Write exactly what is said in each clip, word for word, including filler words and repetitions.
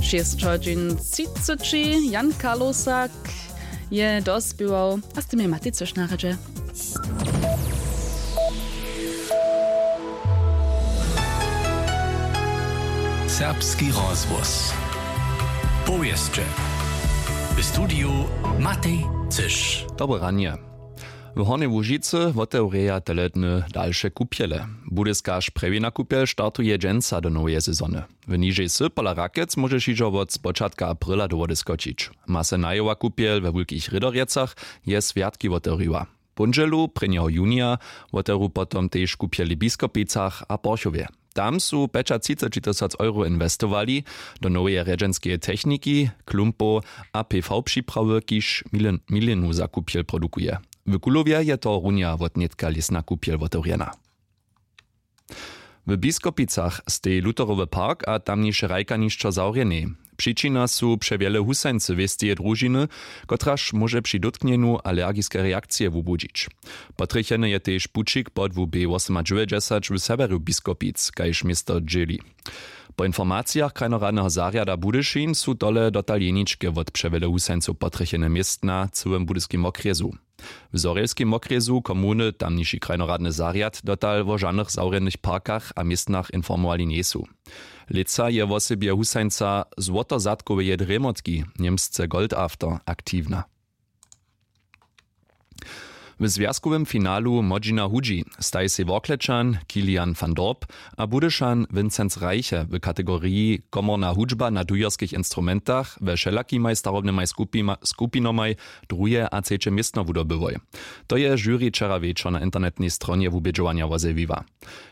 Šěsć hodźin třiceći. Jan Karlosak je dospěwał a z tym je Matej Cyš na rjedźe. Serbski rozhłos. Powěsće. W studiju Matej Cyš. Dobre ranje. W Hornjej Łužicy wotewrjeja tele dny dalše kupjele. Budyskarž prjewina kupjel startuje dźensa do noweje sezony. W nižej sy pola Rakec móžeš hižo wot spočatka aprila do wody skočić. Ma se najowa kupjel we wulkich Rědorjecach je swjatki wotewriła. Póndźelu prěnjeho junija wotewru potom tež kupjeli w Biskopicach a Porchowje. Tam su pjećatřiceći tysac euro inwestowali do noweje rjedźenskeje techniki, klumpow a P V připrawy, kiž milin- milinu za kupjel produkuje. W Kulowje je tohorunja wotnětka lěsna kupjel wotewrjena. W Biskopicach steji Lutherowy park a tamniše hrajkanišćo zawrjenej. Přičina su přewjele husańcy wěsteje družiny, kotraž móže při dótknjenju alergiske reakcije wubudźić. Potrjecheny je tež pućik pod W B wosomadźewjećdźesać w sewjerju Biskopic, kaž město dźěli. Po informacijach krajnoradneho zarjada Budyšin su tole dotal jeničke wot přewjele husańcow potrjechene městna w cyłym budyskim wokrjesu. W zhorjelskim wokrjesu komuny tamniši krajnoradny zarjad dotal wo žanych zawrjenych parkach a městnach informowali njejsu. Lětsa je wosebje husańca złotozadkoweje drjemotki, němsce Goldafter, aktiwna. W zwjazkowym finalu młodźina hudźi staji sej Worklećan Kilian van Dorp a Budyšan Vincenz Reiche w kategoriji komorna hudźba na dujerskich instrumentach we wšelakimaj starobnymaj skupima- skupinomaj druhe a třeće městno wudobyłoj. To je žuri wčera wječor na internetnej stronje wubědźowanja wozjewiła.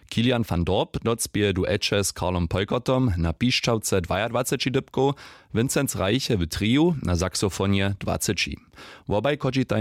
Kilian van Dorp docpěje dueće z Karlom Peukertom na pišćawce dwajadwaceći dypkow, Vincenz Reiche w triju na saxofonje dwaceći. Wobaj chodźitaj